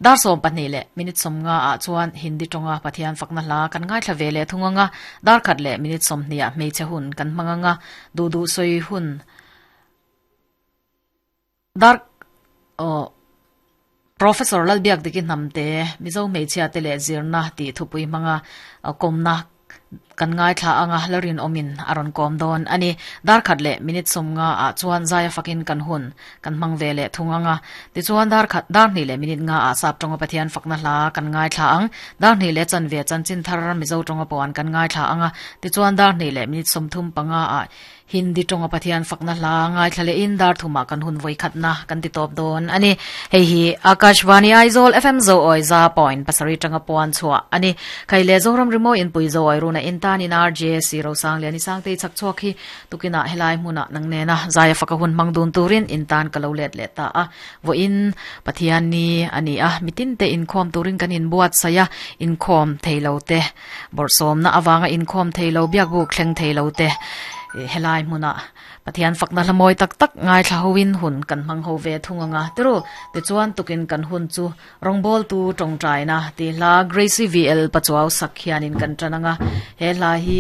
Dar 12 leh minute 50 ah chuan Hindi tawnga Pathian fakna hla kan ngaithla ve leh thung anga, dar khat leh minute 20 ah hmeichhe hun kan hmang anga, duh duh sawi hun dar aw Professor Lalbiakdiki Hnamte Mizo hmeichhia te leh zirna tih thupui hmanga kawmna Kan ngaithla anga la rinawmin a rawn kawm dawn a ni. Dar khat leh minute 50 ah chuan zaia fakin kan hun kan hmang ve leh thung anga. Tichuan dar khat dar hnih leh minute nga ah sap tawnga Pathian fakna hla kan ngaithla ang. Dar hnih leh chanve chanchin thar Mizo tawnga puan kan ngaithla anga. Tichuan dar hnih leh minute 35 ah Hindi tawnga Pathian fakna hla ngaithla leh in dar thumah kan hun vawi khatna kan ti tawp dawn a ni. Hei hi Akashvani Aizawl FM Zoawi za point pasarih tanga puan chhuah a ni. Khai leh Zoram Rimawi inpui Zoawi runa in tan in RJ Rosang Liani Sangtei chhak chhuak hi tukinah helai hmunah nang nena zaia faka hun hmang dun turin in tan ka lo let leh ta a. Vawiin Pathian ni a ni a, mitin te inkhawm turin kan inbuatsaih a, inkhawm thei lo te Bawrhsawmna avanga inkhawm thei lo, biakbuk thleng thei lo te helai hmunah Pathian fakna hla mawi tak tak ngaithla hoin hun kan hmang ho ve thung anga tiru. Tichuan tukin kan hun chu rawngbawltu tawngtaina tih hla Gracie VL Pachuau sak hianin kan tan anga. He hla hi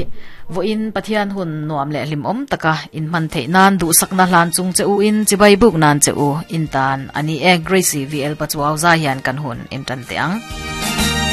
vawiin Pathian hun nuam leh hlimawm taka inhman theih nan duhsakna hlan chung che u in chibai buk nan che u in tan a ni e. Gracie VL Pachuau zai hian kan hun in tan teh ang.